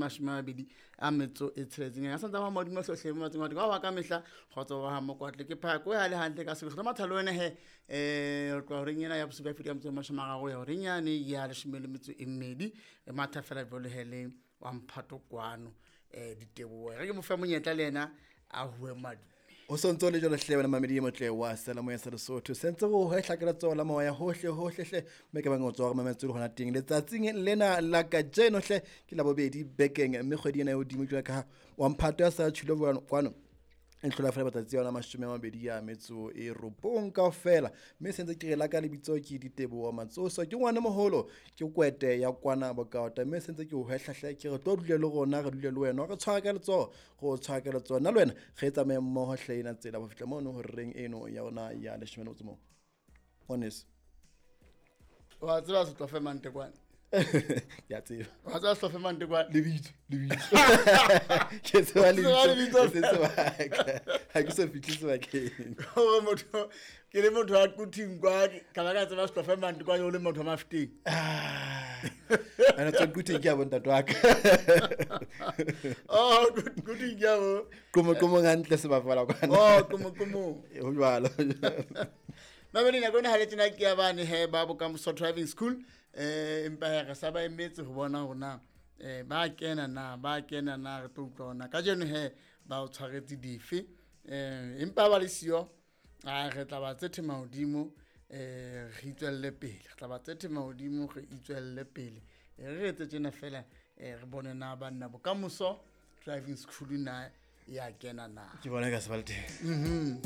26. Ya santsa ba modimo hlohle mo matseng wa ka mehla kgotso wa ha mokwatle ke phako ya le hantle ka sebele matha le wena he re tloha horeng ena ya bosupa ya feta ka metso e 30 ya horeng yane ya 12 re matha fela jwalo he le wa mphato kwano diteboho re ke mo fe monyetla le yena a hue madume. O sontso le jalo hle wena mamedi e motle wa sela moya sa Lesotho sentse go hwehla ka letsoho la moya hohle hohle hle mme ke bang o tswa gore mametse le gona teng letsatsing lena la kajeno hle ke la bobedi bekeng mme kgwedi ena e hodimo jwa ka wa mphato ya sa tshilo kwano e hlola fela matsatsi a yona 29 kaofela mme sentse ke re la ka lebitso ke Diteboho Matsoso ke ngwana moholo ke kwete ya kwana bokaota mme sentse ke o hwehlahle ke re tlo dule le rona re dule le wena re tshwara ka letsoho go tshwara ka letsoho nna le wena re tsamaye mmoho hle ena tsela go fihla mono ho reng eno ya rona ya leshome le motso mong ngwaneso. Wa tseba Setlofe Mantekwane? Ke a tseba. Wa tseba Setlofe Mantekwane? Lebitso ke tseba lebitso se sebaka ha ke so fihle sebakeng gore motho ke le motho wa Quthing kwa ka ba ka tseba Setlofe Mantekwane o le motho wa Mafeteng. Ana tswa Quthing ke ya bontate wa ka. Oh, Quthing ke ya bo qomo qomo hantle sebapala kwana. Oh, qomo qomo. Ho jwalo. Mamedi nako ena ha le tjena ke ya bane he ba Bokamoso Driving School empa he re sa ba emetse ho bona hore na ba kena na ba kena na re tlo utlwa hona kajeno he ba o tshwaretse dife empa ba le siyo a re tla ba tsethe mahodimo re itswelle pele re tla ba tsethe mahodimo re itswelle pele re etse tjena fela re bone na banna Bokamoso Driving School na ya kena na ke bona ka se ba le teng.